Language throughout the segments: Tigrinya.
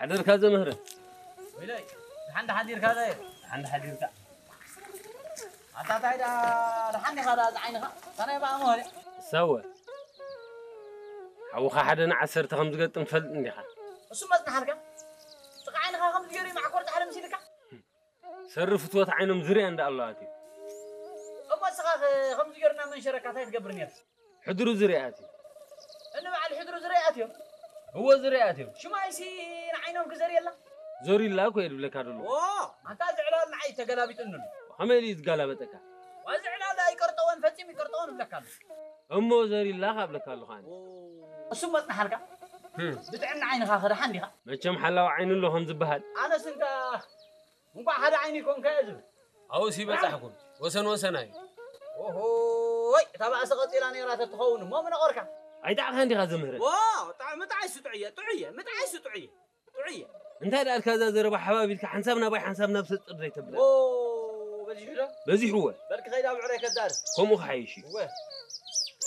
ሓደርካ ዘምህረ። ወይለይ፣ ደሓን ደሓን ዲርካ ዘየ? ደሓን ደሓን ዲርካ። ኣታ ታይ ዳ ደሓን ዲኻ ዳ ዝዓይንኻ? ከመይ በኣ መሆሪ? ሰወ። ሓውኻ ሓደ ንዓሰርተ ከም ዝገጥም ትፈልጥ እንዲኻ። እሱ መጽናሓልካ? ጥቓ ዓይንኻ ከም ዝገሪ ማዕኮር ጻሕሪ ምሲልካ? ሰሪ ፍትወት ዓይኖም ዝርያ እንዳ ኣለዋት እዩ። እሞ እስኻ ከም ዝገርና መንሸረካ ታይ ትገብር ነርካ? ሕድሩ ዝርያት እዩ። እኒ በዓል ሕድሩ ዝርያት እዮም። እዎ ዝርያት እዮም። ሽማይሲ ንዓይኖም ክዘርየላ? ዞሪላ እኮ እየ ድብለካ ደሎ። ኦ፣ ኣንታ ዝዕላል ንዓይ ተገላቢጥኒ ኣሎ። ከመይ ኢሉ እዩ ዝጋላበጠካ? ዋ ዝዕላል ኣይቀርጠወን ፈጺሙ ይቀርጠወን እብለካ ኣሎ። እሞ ዘሪላ ካብለካ ኣለኹ ኣነ። እሱ መጽናሓልካ? ብጥዕና ዓይንኻ ከደሓን ዲኻ? መቸም ሓላዊ ዓይኒ ኣሎ ከም ዝበሃል። ኣነስ እንካ እንኳዕ ሓደ ዓይኒ ይኮንካ እየ ዝብል። ኣብኡስ ይበጻሕኩም ወሰን ወሰን ኣዩ። ኦሆይ እታ ባእሲ ቀጺላ ነይራ ተትኸውን እሞ ምነቆርካ። ኣይጣዕኻን ዲኻ ዘምህረ። ዋ ጣዕ- ምጥዓይ ስጡዕየ ጥዑየ ምጥዓይ ስጡዕየ ጥዑየ። እንታይ ደኣልካ እዛ ዘረባ ሓባቢልካ ሓንሳብ ናባይ ሓንሳብ ናብ ሰጥር ዘይተብላ። ኦ በዚሑ ዶ? በዚሕወ። በልክ ከይዳ ብዕረይ ከዛርብ። ከምኡ ክሓይሽ እዩ። እወ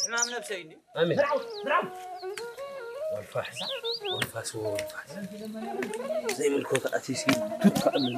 ሕማም ነብሰይ እንዲ ኣሜን። ወልፋስ ወልፋስ ወልፋስ ዘይምልኮት ኣቲሲ ቱት ከኣምን